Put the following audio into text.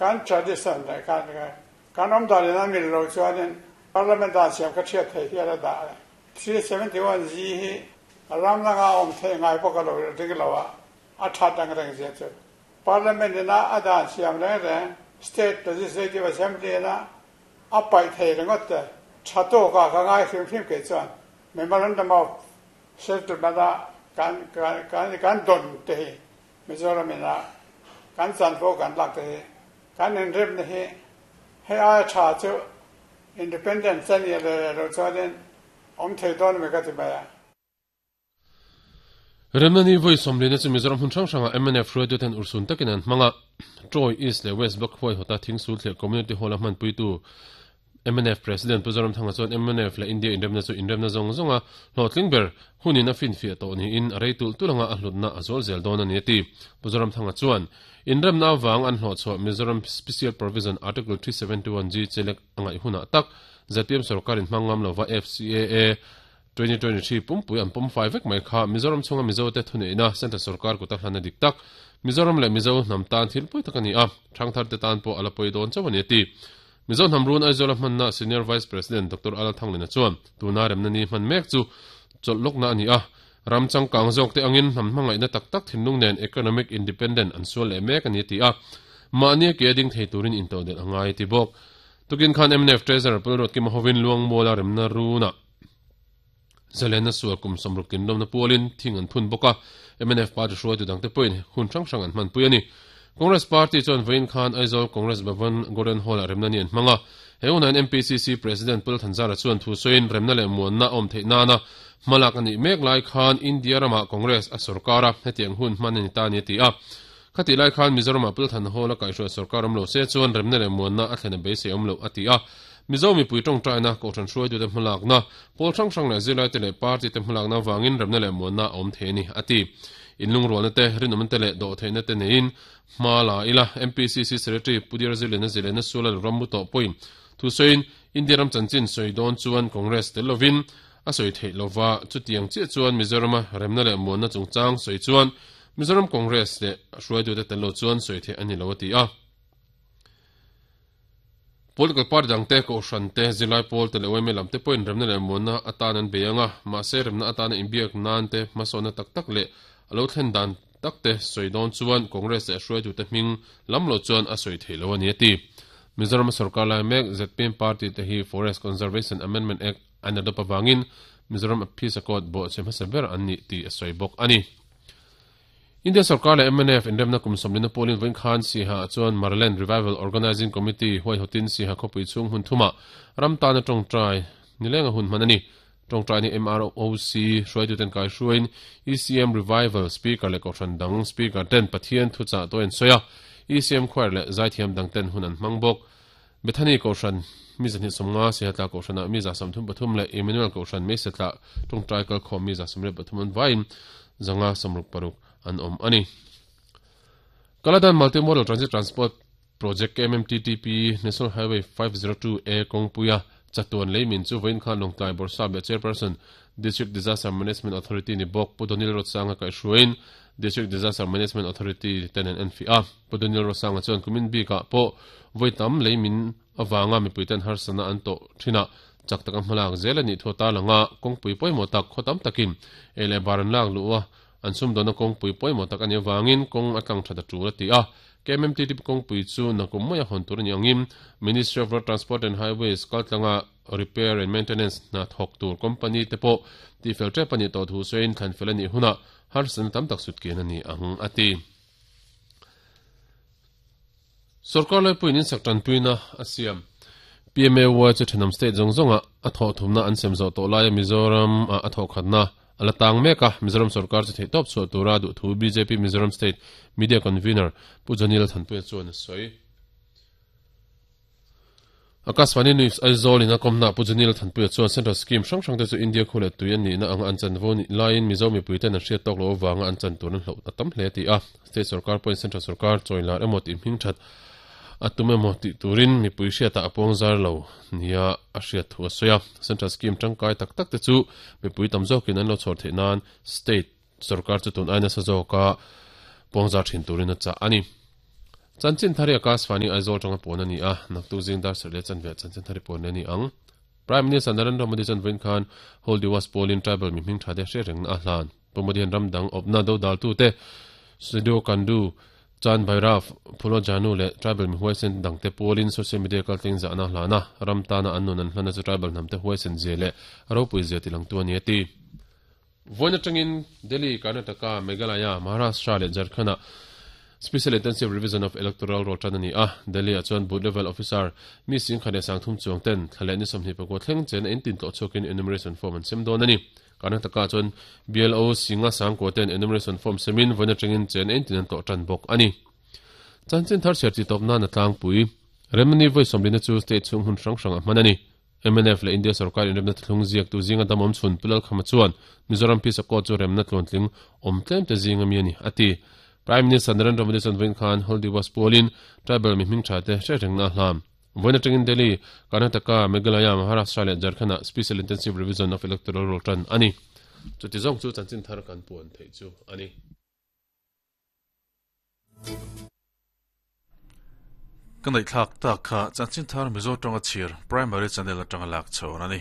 Kan tradition leh kan kan awmdan in a mil lo chuanin Parliament dan siam kha thiat thei hial a dah a. 371 G hi ram danga awm theih ngai bawk a lo ring lo a, a that ang reng zia chu. Parliament ina a dan siam reng reng State Legislative Assembly ina a paih thei ringawt te tha tawkah ka ngai hrim hrim kei chuan Memorandum of Settlement a kan kan kan dawn te hi Mizoram ina kan chanvo kan lak te hi kan inremna hi hei aia tha chu Independence a nih leh leh loh chuanin awm thei dawn ami ka ti mai a. Remna ni vawi sawmlina chu Mizoram hmun hrang hrangah mnf hruaituten urhsun takin an hmang a, Troy East leh West Block huaihawta Thingsul thliah Community Hall-a hmanpuitu Mnf President Pu Zoramthanga chuan mnf leh India inremna chu inremna zawng zawnga hlawhtling ber hunin a finfiah tawh niin a rei tulh tulh anga a hlutna a zual zel dawn a ni a ti. Pu Zoramthanga chuan inremna avang an hlawhchhuah Mizoram Special Provision Article 371G chelek a ngaih hunah tak zpm sorkarin hmang ngam lova FCAA 2023 pumpui an pawm fai vek mai kha Mizoram chhunga Mizote thuneihna Central sorkar kuta hlan a dik tak. Mizoram leh Mizo hnam tan thil pawi tak a ni a, thangtharte tan pawh a la pawi dawn chauh a ni a ti. Mizo hnam run Aizawla hmanna Senior Vice President Doctor Ala Thanglina chuan tuna remna ni hman mek chu chawlh lawkna a ni a, ram changkang zawkte angin hnam hmangaihna tak tak thinlung nen economic independent an sual leh mek a ni a ti a, mahni a ke a ding thei turin intodelh a ngai a ti bawk. Tukin khan mnf Treasurer Pulruat Kima hovin Luangmuala remna runah Zalena sual kum 60 tinlawmna pualin thing an phun bawk a, mnf party hruaitu dangte pawhin hun hrang hrang an hmanpui a ni. Congress party chuan vawiin khan Aizawl Congress Bhavan Golden Hall-ah remna ni an hmang a, he unain MPCC President Pul Thanzara chuan thu sawiin remna leh muanna a awm theih nana hmalak a nih mek lai khan India ramah Congress a sorkar a, hetiang hun hman a ni ta a ni a ti a. Khatih lai khan Mizoramah Pul Than Hall a kaihhruai sorkar awm lo se chuan remna leh muanna a thlen a beisei awm loh a ti a. Mizo mipui tawngtaina, Kohhran hruaitute hmalakna, pawl hrang hrang leh zirlaite leh party te hmalakna avangin remna leh muanna a awm thei a ni, a ti. Inlungrualna te, rinawmna te leh dawhtheihna te neiin hma la ila, MPCC Secretary Pu Diar Zirliana Zilena Suala ram mu tawh pawhin thu sawiin India ram chanchin sawi dawn chuan Congress tel lovin a sawi theih lova, chutiang chiah chuan Mizorama remna leh muanna chungchang sawi chuan Mizoram Congress leh hruaitute tel lo chuan sawi theih a ni lo, a ti a. Political party dangte, kohhran te, zirlai pawl te leh yma lam te pawhin remna leh muanna atan an bei ang a, mahse remna atana inbiak nan te hmasawnna tak tak leh a lo thlen dan tak te sawi dawn chuan Congress leh hruaitute hming lam lo chuan a sawi theih lo a ni a ti. Mizoram sorkar lai mek zpm party te hi Forest Conservation Amendment Act an adopt avangin Mizoram Peace Accord bawhchhe hmasa ber an ni tih a sawi bawk a ni. India sorkar leh mnf inremna kum sawmlina pawlin vawiin khan Siha ah chuan Maraland Revival Organising Committee huaihawtin Siha khawpui chhung hmun thumah ram tana tawngtai nilenga hun hman a ni. Tawngtai ni MROC hruaituten kaihruaiin ECM Revival Speaker leh Kohhran dang Speaker ten Pathian thuchah tawh an sawi a, ECM Choir leh zaithiam dang ten hun an hmang bawk. Bethany Kohhran mi 250, Sihatla Kohhranah mi 33 leh Emmanuel Kohhran Meisetla tawngtai kalkhawm mi 73 an vaiin 566 an awm a ni. Kaladan Multimodal Transit Transport Project KMMTTP National Highway 502A kawngpuia chatuan leimin chu vawiin khan Lawngtlai Bawrhsap leh Chairperson District Disaster Management Authority ni bawk Pu Donil Rotsanga kaihhruaiin District Disaster Management Authority ten an enfiah a. Pu Daniel Rosanga chuan kumin bikah pawh vawi tam lei min avanga mipuiten harsatna an tawh thinah chak taka hmalak zel a nih thu a tarlang a, kawngpui pawimawh tak khaw tam takin ei leh bar an lak luh a, an sumdawnna kawngpui pawimawh tak a nih avangin kawng a tlang that a tul a ti a. KMMTTP kawngpui chu nakum maia hawn tur a nih angin Ministry of Road Transport and Highways kaltlanga repair and maintenance hna thawk tur company te pawh tihfel tep a nih tawh thu sawiin thlanfel a nih hunah harsatna tam tak sutkian a ni ang a ti. Sorkar laipuiin insak tanpuina a siam. PMAY chu thenawm state zawng zawnga a thawh thumna an sem zawh tawh laia Mizoram ah a thawh khatna a la tang mek a, Mizoram sorkar chu theihtawp chhuah tura duh thu bjp Mizoram State Media Convener Pu Jonil Thanpuia chuan a sawi. Akashvani News Aizawl in a kawmna Pu Janil Thanpuia chuan Central Scheme hrang hrang te chu India khu leh tui an nihna anga an chanvo nih laiin Mizo mipui ten an hriat tawk loh avanga an chan tur an hloh a tam hle ti a. State sorkar pawhin Central sorkar chawi lar emaw tih hming that a tum emaw tih turin mipui hriatah a puang zar lo nia a hriat thu a sawi a. Central Scheme tangkai tak tak te chu mipui tam zawkin an lo chhawr theih nan State sorkar chu tun ai nasa zawka puang zar thin turin a chah a ni. Chanchin thar hi Akashvani Aizawl tanga pawn a ni a, naktuk zing dar sarh leh chanve ah chanchin thar hi pawn a ni ang. Prime Minister Narendra Modi chuan vawiin khan Hol Diwas pawlin tribal mi hming tha te hre rengna a hlan. Pu Modi hian ram dang awpna dodaltute Sidhu Kandu, Chand Bhairav, Phulo Janu leh tribal mi huaisen dangte pawlin social media kaltling zahna a hlan a, ram tana an nun an hlanna chu tribal hnamte huaisen zia leh ropui zia tilangtu a ni a ti. Vawiin atangin Delhi, Karnataka, Meghalaya, Maharashtra leh Jharkhand-ah Special Intensive Revision of Electoral Roll tan a ni a. Delhi-ah chuan Booth Level Officer mi singkhat leh sangthum chuang ten thla leh ni 24 thleng chen a intin tlawh chhuakin enumeration form an sem dawn a ni. Karnataka-ah chuan BLO singa sangkua ten enumeration form semin vawiin atangin chen a intin an tlawh tan bawk a ni. Chanchin thar chhiar chi tawp nan a tlangpui. Remani vawi sawmlina chu state chhung hmun hrang hrangah hman a ni. Mnf leh India sorkar inremna thlung ziaktu zinga dam awm chhun Pu Lalkhama chuan Mizoram Peace Accord chu remna tluantling awm tlem te zinga mi a ni, a ti. Prime Minister Narendra Modi chuan vawiin khan Hol Diwas pualin tribal mi hming tha te hre rengna a hlam. Vawiin atangin Delhi, Karnataka, Meghalaya, Maharashtra leh Jharkhand-ah Special Intensive Revision of Electoral Roll tan a ni. Chuti zawng chu chanchin thar kan puan theih chu a ni. Ka ngaihthlak tak kha chanchin thar Mizo tawnga chhir Primary Channel atanga lak chhawn a ni.